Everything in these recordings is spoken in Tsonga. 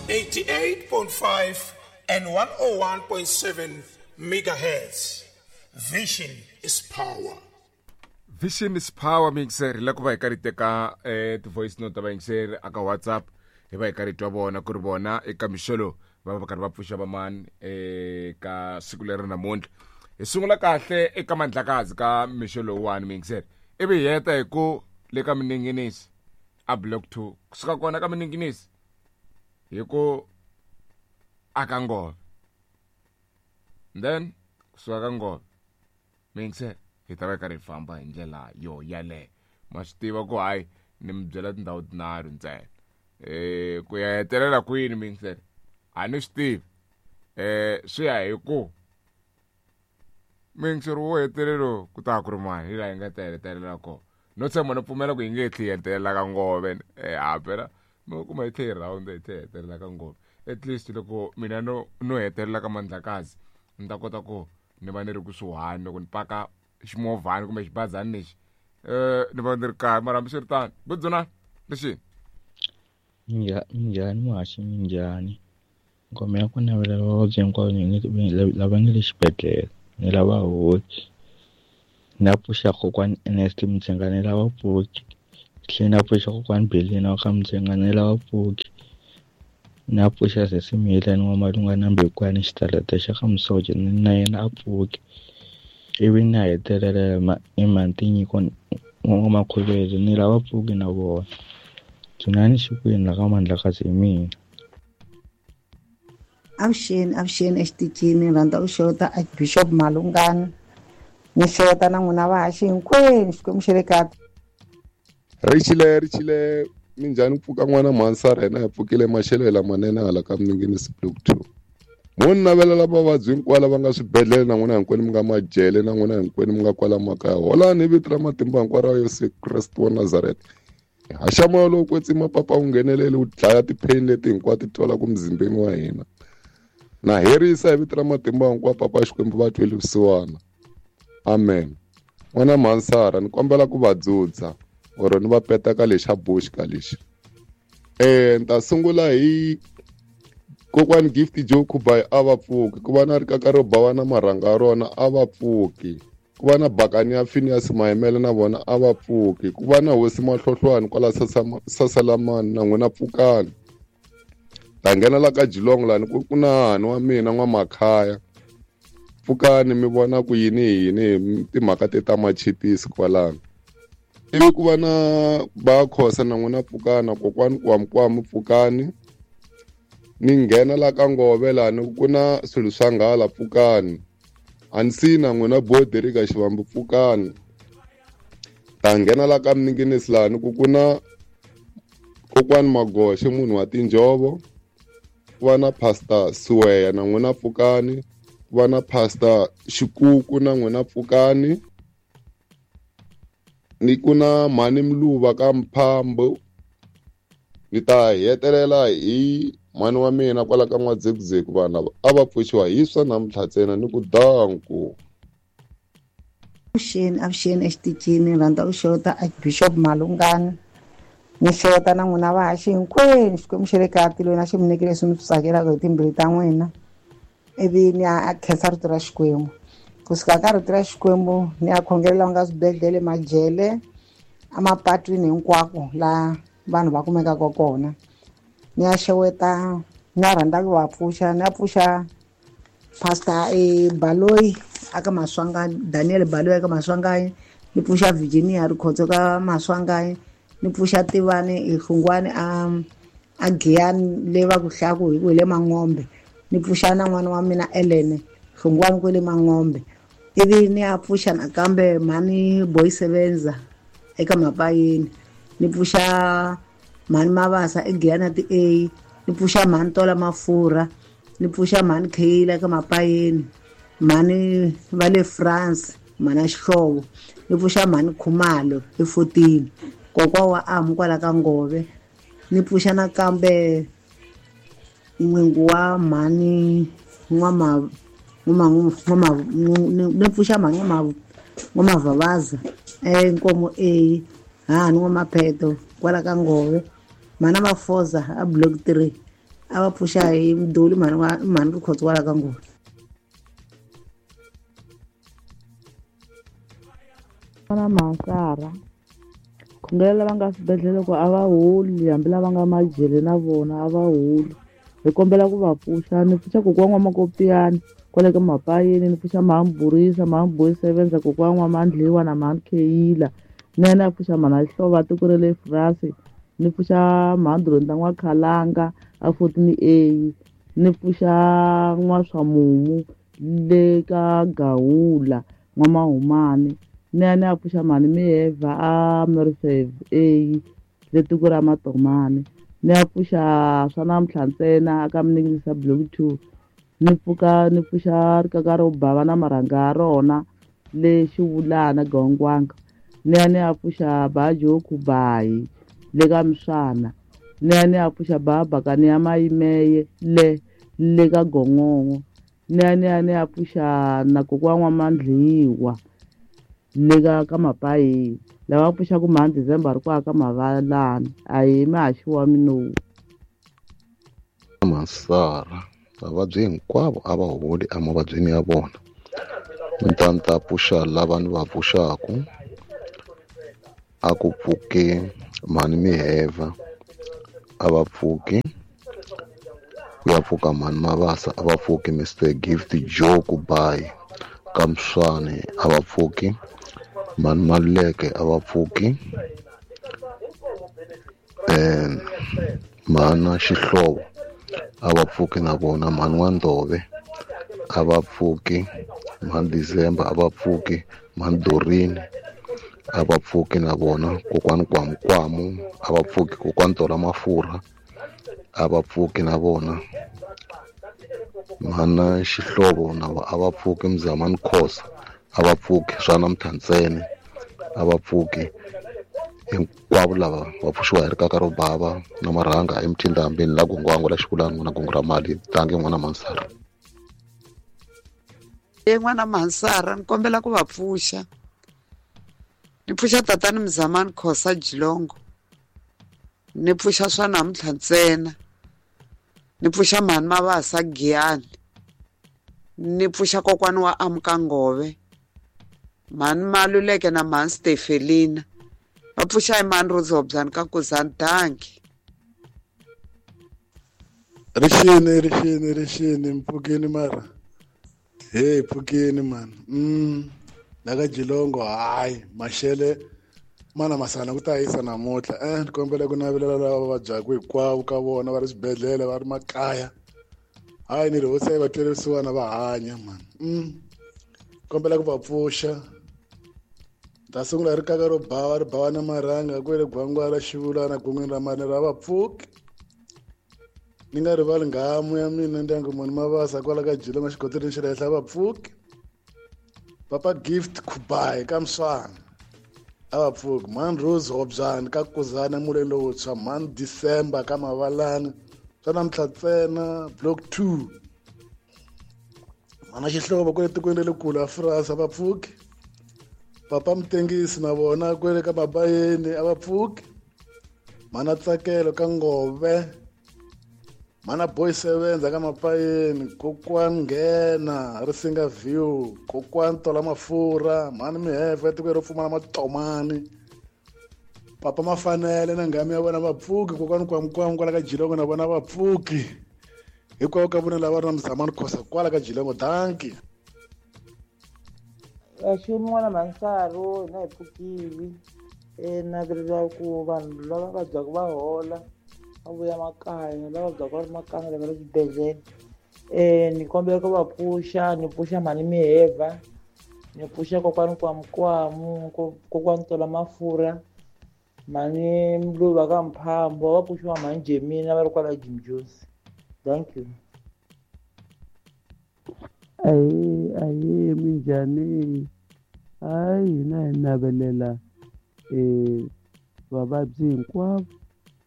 88.5 and 101.7 megahertz. Vision is power. Vision is power mixer hi la ku va hi karhi teka eh, ti-voice note ta vayingiseri aka WhatsApp hi va hi karhi twa vona ku ri vona eka mixo lowu va va karhi va pfuxa vamani eka siku leri namuntlha. Hi sungula kahle eka Mandlakazi ka mixo lowuwani mixer, ivi hi heta hi ku le ka Mininginisi a block 2, kusuka kona ka Mininginisi hi ku aka Ngove, then kusuka ka Ngove mixer hi ta va hi karhi hi famba hi ndlela yo yaleyo. Ma swi tiva ku hayi ni mi byela tindhawu tinharhu ntsena, ku ya hetelela kwini mixer a ni swi tivi, swi ya hi ku mixer wo hetelelo ku ta ku ri mani hi laha hi nga ta hetelela kona. No tshemba no pfumela ku hi nge tlhe hi hetelela ka Ngove, ha phela mi kuma hi tlhe hi round hi tlhe hi hetelela ka Ngove. At least loko mina no hetelela ka Mandlakazi ni ta kota ku ni va ni ri kusuhani loko ni paka ximovhani kumbe xibazani lexi, ni va ni ri kaya. Mara hambiswiritano budzuna lexini. Minjhani muhaxi, minjhani? Ngoma ya ku navela vavabyi hinkwavo lava nga le xibedhlele ni lava hoki. Na pfuxa kokwani Ernest Mudzenga ni lava pfuki. Tlhela na pfuxa kokwani Belina wa ka Mudzenga ni lava pfuki. Na pfuxa sesi Miyelani wa Malunga na Mbekwani xitalata xa ka Musoja na yena a pfuki. Ivi na hetelela hi Mhantinyiko N'wamakhovele ni lava pfuki na vona. Dzunani Xikwembu la ka Mandlakazi hi mina. Avuxeni, avuxeni exitichini, ni rhandza ku xeweta Archbishop Malungani, ni xeweta na n'wina vahaxi hinkwenu, Xikwembu xa le kaya. Ri xile, ri xile, minjhani ku pfuka n'wana mhani Sara? Hina hi pfukile maxelo lamanene hala ka Mninginisi block 2. Mo ni navelela vavabyi hinkwavo lava nga swibedhlele na n'wina hinkwenu mi nga majele na n'wina hinkwenu mi nga kwala makaya. Holani hi vito ra matimba hinkwaro ra Yesu Kreste wa Nazareth. Haxa moya lowu kwetsima papa wu nghenelele wu dlaya ti-pain leti hinkwato ti twalaka muzimbeni wa hina. Na herisa hi vito ra matimba hinkwawo papa Xikwembu va tweli vusiwana. Amen. N'wana mhani Sara ni kombela ku va dzudza or ni va peta ka lexa bush ka lexi. Ni ta sungula hi kokwani Gift Joe Khubai a va pfuki, ku va na rikaka ro bawa na marhanga ya rona a va pfuki, ku va na bakani ya Phineas Mayimele na vona a va pfuki, ku va na hosi Mahlohlwani kwala Sasalamani na n'wina pfukani. Ta nghena la ka Jilong lani ku na hahani wa mina N'wamakhaya, pfukani mi vona ku yini yini timhaka te ta machipisi kwalano. Ivi ku va na va Khosa na n'wina pfukana, kokwani Kwamukwamu pfukani. Ni nghena la ka Ngove lani ku na swilo swa nghala pfukani. A ni siyi na n'wina bodi ka Xivambu pfukani. Ta nghena la ka Mninginisi lani ku na kokwani Magoxe munhu wa tinjhovo, ku va na Pastor Siweya na n'wina pfukani, ku va na Pastor Xikuku na n'wina pfukani. Ni ku na mhani Mluva ka Mphambo. Ni ta hetelela hi mhani wa mina kwala ka N'wadzekuzeku, vanhu lava a va pfuxiwa hi swa namuntlha ntsena ni ku danku. Avuxeni, avuxeni exitichini, ni rhandza ku xeweta Archbishop Malungani, ni xeweta na n'wina vahaxi hinkwenu, Xikwembu xa le kaya tilweni a xi mi nyiki leswi mi swi tsakelaka hi timbilu ta n'wina. Ivi ni ya khensa rito ra Xikwembu. Kusuka ka rito ra Xikwembu ni ya khongelela nga swibedhlele, majele, emapatwini hinkwako laha vanhu va kumekaka kona. Ni ya xeweta, ni ya rhandza ku va pfuxa, ni ya pfuxa Pastor Baloyi aka Maswanganyi, Daniel Baloyi aka Maswanganyi, ni pfuxa Virginia Rikhotso ka Maswanganyi, ni pfuxa Tivani Hlungwani a Giyani le va ku hlaku hi ku hi le Mangombe, ni pfuxa na n'wana wa mina Ellen Hlungwani kwele Mangombe. Ivi ni ya pfuxa nakambe mhani Boy Sebenza eka Mapayeni, ni pfuxa mhani Mabasa eGiyani ti A, ni pfuxa mhani Tola Mafurha, ni pfuxa mhani Kheyila eka Mapayeni, mhani va le France, mhani ya Xihlovo, ni pfuxa mhani Khumalo eFotini, kokwa wa Amu kwala ka Ngove, ni pfuxa nakambe n'wingu wa mhani N'wama, N'wama, N'wama, ni pfuxa mhani N'wama, N'wamavhavaza eNkomo A, hahani N'wamapheto kwala ka Ngove, mhana Mafoza a Block 3. A va pfuxa hi mdoli mhani wa mhani Rikhotso kwala ka Ngoni. Na Mansara khongela lava nga swibedhlele ku a va holi hambi lava nga majele na vona a va holi hi kombela ku va pfuxa ni pfuxa kokwana wa Makopiyani kwale ka Mapayeni ni pfuxa Mhamburisa Mhamboyi sevenza kokwana wa Mandliwa na Mhani Kheyila ni ya ni ya pfuxa mhana Xihlovo a tiko ra le France ni pfuxa Mhandronda N'wakhalanga a 14A ni pfuxa N'waswamumu le ka Gawula N'wamahumani ni ya ni ya pfuxa mhani Miheva a Mersev A le tiko ra Matomani ni ya pfuxa swa namuntlha ntsena aka Mninginisa Block 2 ni pfuka ni pfuxa rikaka ro bava na marhanga ya rona le Xivulana Gongwanga ni ya ni ya pfuxa Bajo Khubayi le ka Mswana ni ya ni ya pfuxa Babakani ya Mayimeye le ka Gongongo ni ya ni ya ni ya pfuxa na kokwana wa Mandliwa le ka Mapayi lava pfuxaku mhani December ri kwaka ka Mavalani a hi mahaxi wa minowu. Mansara vavabyi hinkwavo a va holi emavabyini ya vona ni ta ni ta pfuxa lava ni va pfuxaku a ku pfuki mhani Miheva a va pfuki ku ya pfuka mhani Mabasa a va pfuki Mr Gift Joe Kubayi ka Mswane a va pfuki mhani Maluleke a va pfuki mhana Xihlovo a va pfuki na vona mhani N'wandove a va pfuki mhani December a va pfuki mhani Dorini a va pfuki na vona kokwani Kwamukwamu a va pfuki kokwani Tola Mafurha a va pfuki na vona mhana Xihlovo na a va pfuki Mzamani Khosa a va pfuki swa namuntlha ntsena a va pfuki hinkwavo lava va pfuxiwa hi rikaka ro bava na marhanga emthindambeni la Gongwango la Xivulani n'wana gongo ra mali tangi n'wana Mansara. N'wana Mansara ni kombela ku va pfuxa ni pfuxa tatani Mzamani Khosa Jilongo ni pfuxa swa namuntlha ntsena ni pfuxa mhani Mabasa Giyani ni pfuxa kokwani wa Amukangove mhani Maluleke na mhani Stefelina va pfuxa hi mhani Ruzobzani ka Kuzani. Danki. Rixini rixini rixini mpfukeni mara hey pfukeni mani la ka Jilongo hayi maxele mana masana ku ta yisa namuntlha ni kombela ku navelela lava vabyaka hinkwavo ka vona va ri swibedhlele va ri makaya hayi ni ri hosi yi va twele vusiwana va hanya mani kombela ku va pfuxa ta sungula rikaka ro bava ri bava na marhanga kwele Gwangwa ra Xivulana gongweni ra mani ra va pfuki ni nga rivali nghamu ya mina ndyangu mani Mabasa kwala ka Jilongo xigoteleni xa le henhla va pfuki Papa Gift Khubayi ka Mswana a va pfuki mhani Rose Hobyani ka Kuzana muleni lowuntshwa mhani December ka Mavalani swa namuntlha ntsena Block 2 mhana Xihlovo kwele tikweni ra le kule a France a va pfuki Papa Mutengisi na vona kwele ka Mabayeni a va pfuki mhana Tsakelo ka Ngove mhana Boy Sevenza ka Mapayeni kokwani Nghena Risinga View kokwani Tola Mafurha mhani Miheva etikweni ro pfumala Matomani Papa Mafanele na nghamu ya vona va pfuki kokwani Kwamukwamu kwala ka Jilongo na vona va pfuki hinkwavo ka vona lava ri na Mzamani Khosa kwala ka Jilongo. Danki. Vaxumi n'wana Mansaro hina hi pfukile navelela ku vanhu lava vabyaka va hola va vuya makaya lava vabyaka va ri makaya lava ri swibedhlele ni kombela ku va pfuxa ni pfuxa mhani Miheva ni pfuxa kokwani Kwamukwamu kokwani Tola Mafurha mhani Mluva ka Mphambo va pfuxiwa mhani Jemina va ri kwala Jim Jones. Thank you. Ahee minjhani hayi hina hi navelela vavabyi hinkwavo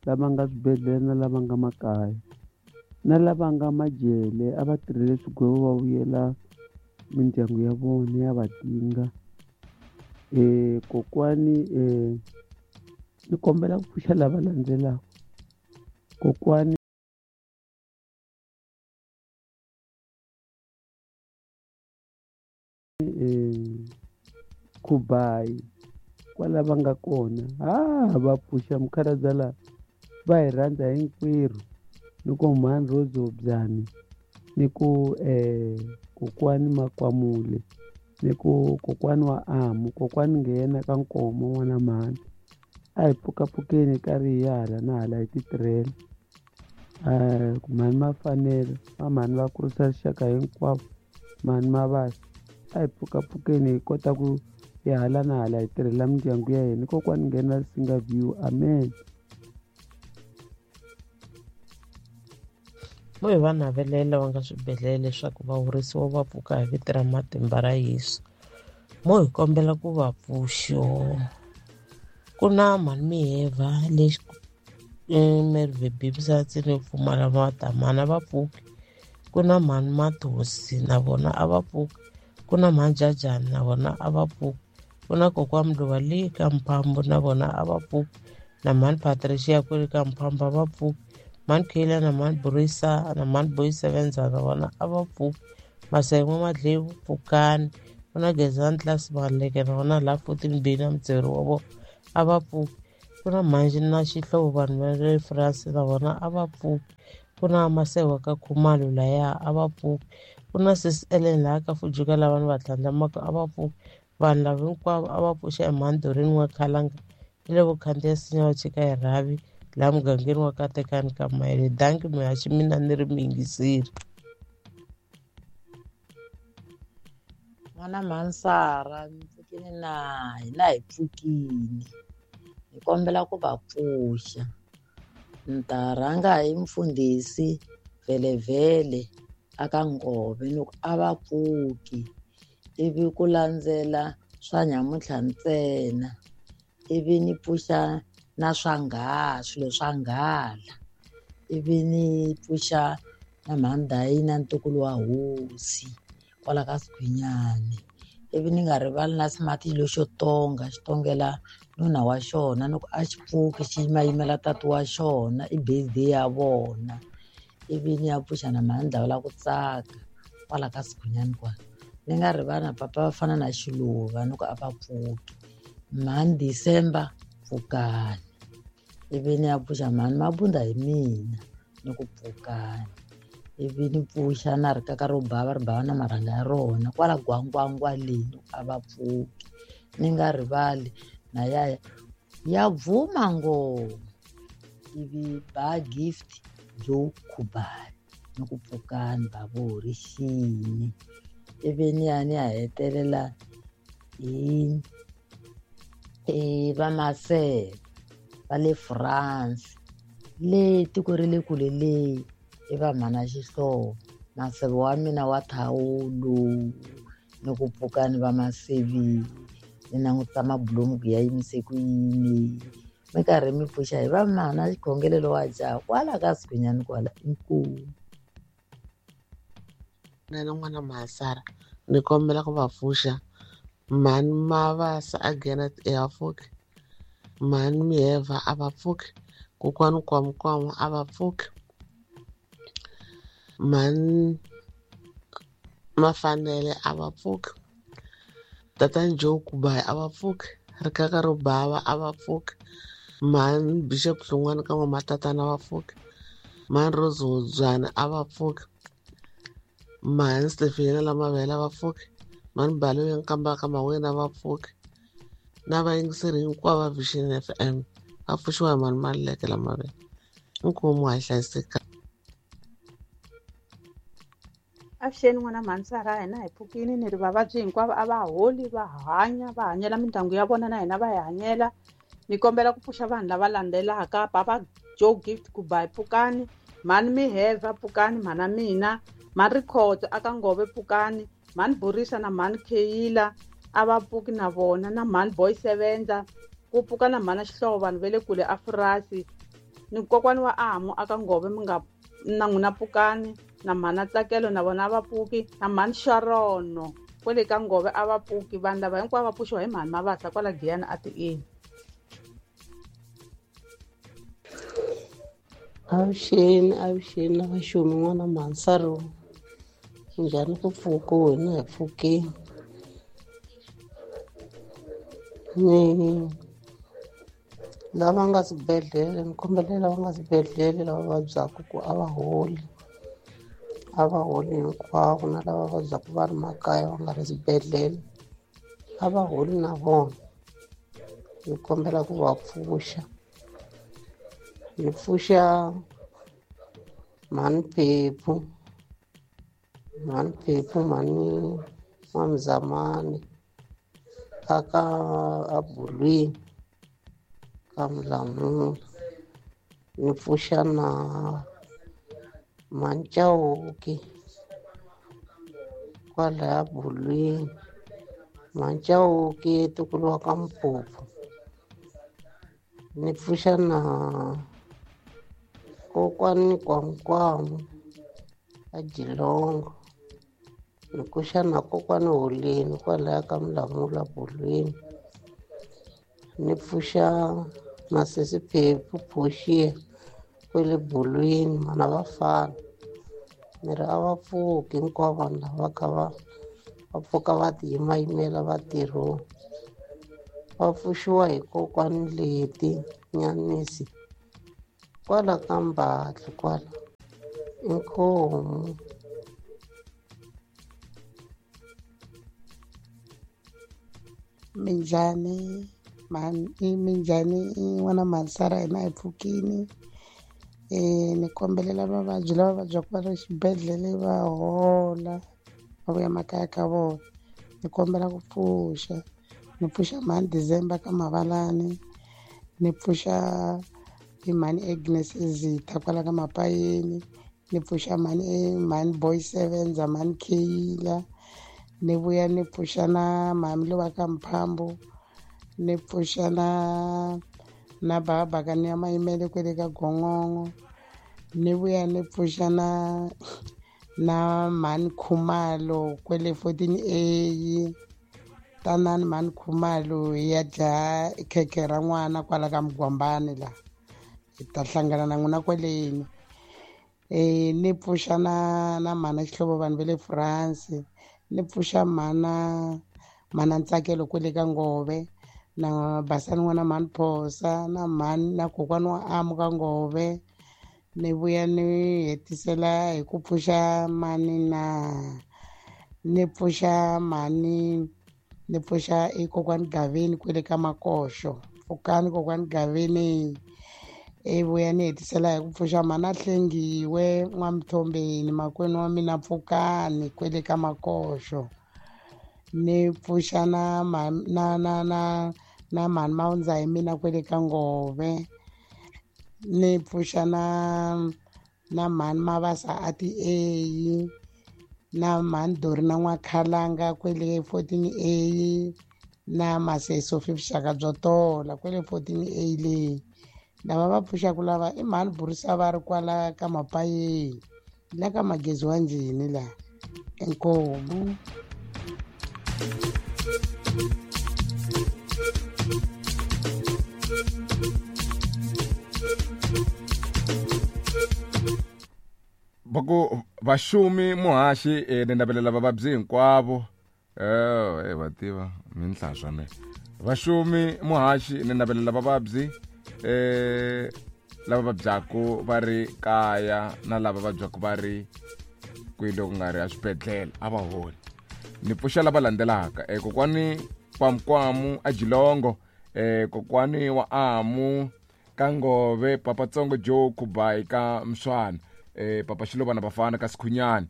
lava nga swibedhlele na lava nga makaya na lava nga majele a va tirhele swigwevo va vuyela mindyangu ya vona ya va tinga kokwani ni kombela ku pfuxa lava landzelaka kokwani. Khubayi kwala va nga kona. Va pfuxa mukhalabye la va hi rhandza hinkwerhu, ni ku mhani Rose Obyani, ni ku kokwani Makwamule, ni ku kokwani wa Amu, kokwani nghena ka Nkomo n'wana mhani. A hi pfukapfukeni karhi hi ya hala na hala hi titirhela. Mhani Mafanele, va mhani va kurisa rixaka hinkwavo, mhani Mabasa. A hi pfukapfukeni hi kota ku hi hala na hala hi tirhela mindyangu ya hina. Kokwani nghena Singa View. Amen. Mo hi va navelela va nga swibedhlele leswaku va horisiwa va pfuka hi vito ra matimba ra Yesu. Mo hi kombela ku va pfuxo. Ku na mhani Miheva lexi Merve Bibsatsi ni pfumala matamana va pfuki. Ku na mhani Mathosi na vona a va pfuki. Ku na mhani Jajani na vona a va pfuki. Ku na kokwani Mluva le ka Mphambo na vona a va pfuki. Na mhani Patricia kwele ka Mphambo a va pfuki. Mhani Kayla na mhani Borisa na mhani Boy Sevenza na vona a va pfuki. Masayin'we Madlevu pfukani. Ku na Gezani Class Maleke na vona laha 14 B na mudzeri wa vona a va pfuki. Ku na Mhanji na Xihlovo vanhu va le France na vona a va pfuki. Ku na Masewa ka Khumalo laya a va pfuki. Ku na Sis Ellen laha ka Fujuka lava ni va tlhandlamaka a va pfuki. Vanhu lava hinkwavo a va pfuxa emhandorini wa Khalanga ni le vukhandziya sinya va chika hi rhavi laha mugangeni wa Katekani ka Mayele. Danki muhaxi mina ni ri muyingiseri. N'wana Mhansara, mi pfukile na hina hi pfukile. Hi kombela ku va pfuxa. Ni ta rhanga hi mfundhisi Vhelevhele aka Ngove ni ku a va pfuki, ivi ku landzela swa nyamuntlha ntsena, ivi ni pfuxa na swa nghala, swilo swa nghala, ivi ni pfuxa na mhani na ntukulu wa hosi kwala ka Sigwinyani, ivi ni nga rivali na Smart lexo tonga xi tongela nuna wa xona ni ku a xi pfuki xi yimayimela tati wa xona, i birthday ya vona, ivi ni ya pfuxa na mhani Dlawula ku tsaka kwala ka Sigwinyani kwala. Ni nga rivali na papa va fana na Xiluva ni ku a va pfuki. Mhani December pfukani, ivi ni ya pfuxa mhani Mabunda hi mina ni ku pfukani, ivi ni pfuxa na rikaka ro bava ri bava na marhanga ya rona kwala Gwangwangwa leyi a va pfuki. Ni nga rivali na yaya ya bvuma ngoma, ivi ba Gift Joe Khubani ni ku pfukani ba vo rixini, ivi ni ya ni ya hetelela hi va Maseve va le France le tiko ri le kule leyi i va mhana Xihlovo Maseve wa mina wa thawulo ni ku pfukani va Masevi ni langutisa mabulomu ku ya yimise ku yini mi karhi mi pfuxa hi va mhana xikhongelelo wa jaha kwala ka Sigwinyani kwala inkomu. Na n'wana Mhasara ni kombela ku va pfuxa mhani Mavasa a Genet a pfuki, mhani Miheva a va pfuki, kokwani Kwamkwama a va pfuki, mhani Mafanele a va pfuki, tatani Joe Kubayi a va pfuki, rikaka ro bava a va pfuki, mhani Bishop Hlungwana ka n'wamatatana a va pfuki, mhani Rose Hobyana a va pfuki, mhani Stefena Lamavele a va pfuki, mhani Baloyi Nkamba ka Mawena a va pfuki, na vayingiseri hinkwavo va Vision FM va pfuxiwa hi mhani Maluleke Lamavele. Inkomu ha hlayiseka. Avuxeni n'wana Mhansara, hina hi pfukile ni ri vavabyi hinkwavo a va holi va hanya va hanyela mindyangu ya vona na hina va hi hanyela. Ni kombela ku pfuxa vanhu lava landzelaka papa Joe Gift Kubayi pfukani, mhani Miheva pfukani, mhana mina mhani Rikhotso aka Ngove pfukani, mhani Borisa na mhani Keyila a va pfuki na vona, na mhani Boy Sevenza ku pfuka na mhana Xihlovo vanhu va le kule a Furasi, ni kokwani wa Amu aka Ngove mi nga na n'wina pfukani, na mhana Tsakelo na vona a va pfuki, na mhani Sharono kwele ka Ngove a va pfuki. Vanhu lava hinkwavo va pfuxiwa hi mhani Mavasa kwala Giyani a tieni. Avuxeni, avuxeni na vaxumi n'wana Mhansaro, njhani ku pfuka wena hi pfukeni. Ni lava nga swibedhlele, ni kombela lava nga swibedhlele lava vabyaka ku a va holi, a va holi hinkwavo, na lava vabyaka va ri makaya va nga ri swibedhlele a va holi na vona. Ni kombela ku va pfuxa, ni pfuxa mhani Phephu, mhani Phephu, mhani N'wamzamani aka abulwini ka Mulamula. Ni pfuxa na mhani Chauke kwalaya bulwini, mhani Chauke ntukulu wa ka Mphuphu. Ni pfuxa na kokwani Kwankwamu a Jilongo. Ni pfuxa na kokwani Holeni kwalaya ka Mulamula bulwini. Ni pfuxa na sesi Phephu Phoxiya kwele bulwini, mana vafana. Ni ri a va pfuki hinkwavo vanhu lava kha va pfuka va ti yimayimela vatirhoni. Va pfuxiwa hi kokwani Leti Nyanisi kwala ka Mbatli kwala. Inkomu. Minjhani mhani, minjhani n'wana mhanisara, hina hi pfukini. Ni kombelela vavabyi lava vabyaka va ri xibedhlele va hola va vuya makaya ka vona. Ni kombela ku pfuxa, ni pfuxa mhani December ka Mavalani, ni pfuxa i mhani Agnes Zitha kwala ka Mapayeni, ni pfuxa mhani mhani Boy Sevenza, mhani Kayila, ni vuya ni pfuxa na mhani lowa ka Mphambo, ni pfuxa na baba Bakani ya Mayimele kwele ka Gongongo, ni vuya ni pfuxa na mhani Khumalo kwele 14A. Tanani mhani Khumalo hi ya dya khekhe ra n'wana kwala ka Mugwambani la, hi ta hlangana na n'wina kweleni. Ni pfuxa na mhana Xihlovo vanhu va le France, ni pfuxa mhana Ntsakelo kwele ka Ngove, na Basani n'wana mhani Phosa, na mhani na kokwani wa Amu ka Ngove. Ni vuya ni hetisela hi ku pfuxa mani na ni pfuxa mhani, ni pfuxa i kokwani Gaveni kwele ka Makoxo. Pfukani kokwani Gaveni. I vuya ni hetisela hi ku pfuxa mhana Hlengiwe N'wamthombeni makwenu wa mina, pfukani kwele ka Makoxo. Ni pfuxa na na na na na mhani Mawundza hi mina kwele ka Ngove. Ni pfuxa na mhani Mavasa a ti A, na mhani Dorina N'wakhalanga kwele 14A, na Maseso Vuxaka byo tola kwele 14A leyi. Lava va pfuxaka lava i mhani Burisa va ri kwala ka Mapayeni, la ka Magezi wa Njhini la. Inkomu. Va ku vaxumi muhaxi, ni navelela vavabyi hinkwavo. Va tiva minhlaswa me. Vaxumi muhaxi, ni navelela vavabyi lava vabyaku va ri kaya na lava vabyaku va ri kwihi loko nga ri eswibedhlele a va holi. Ni pfuxa lava landzelaka. Kokwani Kwamkwamu a Jilongo, kokwani wa Amu ka Ngove, Papa Tsongo Joe Kubai ka Mswana, Papa Xilovana Bafana ka Sikhunyani,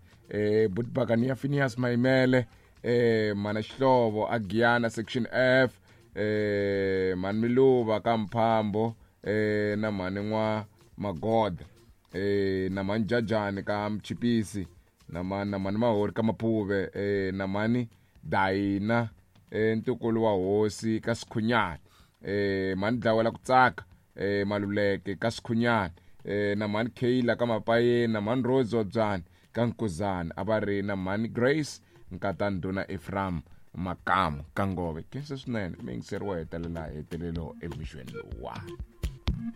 Butibakani ya Phineas Maimele, mana Xihlovo a Giyana section F, mhani Miluva ka Mphambo, na mhani N'wa Magoda, na mhani Jajani ka Mchipisi, na mhani Mahori ka Maphuve, na mhani Dayina, ntukulu wa hosi ka Sikhunyani, mhani Dlawela ku tsaka, Maluleke ka Sikhunyani, na mhani Kayla ka Mapayeni, na mhani Rose Wabyani ka Nkuzana, a va ri na mhani Grace Nkata Ndhuna Ephraim Makamu ka Ngove. Khensa swinene mi yingiseri wo hetelela hetelelo emixweni lowuwani.